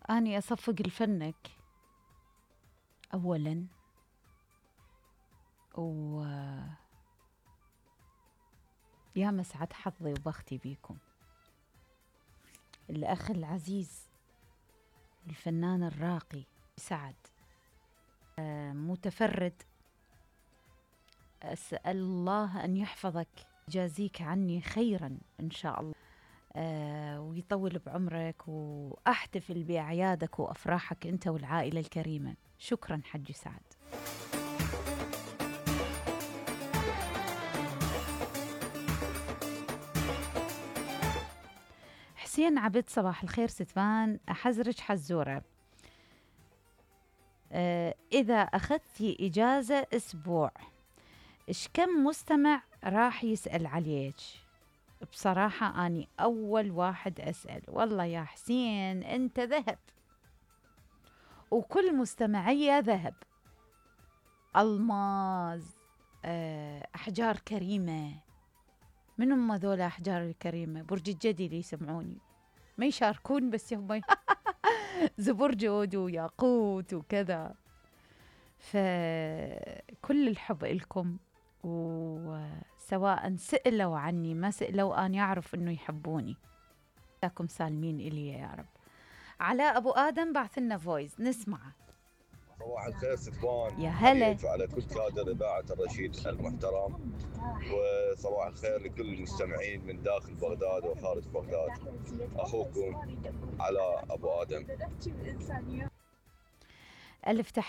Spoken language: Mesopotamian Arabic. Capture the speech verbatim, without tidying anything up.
أني أصفق لفنك أولاً، و يا مسعد حظي وبختي بيكم. الأخ العزيز الفنان الراقي سعد متفرد، أسأل الله أن يحفظك، يجازيك عني خيراً إن شاء الله، أه ويطول بعمرك، وأحتفل بأعيادك وأفراحك أنت والعائلة الكريمة. شكراً حج سعد. حسين عبد صباح الخير ستفان، أحزرج حزورة. أه إذا أخذتي إجازة أسبوع إيش كم مستمع راح يسأل عليك؟ بصراحة أني أول واحد أسأل. والله يا حسين أنت ذهب، وكل مستمعية ذهب، ألماظ، أحجار كريمة. من هم ذولا أحجار الكريمة؟ برج الجدي اللي يسمعوني ما يشاركون، بس هم زبرجد وياقوت وكذا. فكل الحب إلكم، وسواء سئلوا عني ما سئلوا أن يعرف أنه يحبوني. لكم سالمين إلي يا رب. علاء أبو آدم بعث لنا فويس نسمعه. صباح الخير ستفان، يا هلا على كل كادر إذاعة الرشيد المحترم، وصباح الخير لكل المستمعين من داخل بغداد وخارج بغداد. أخوكم علاء أبو آدم. ألف تحية.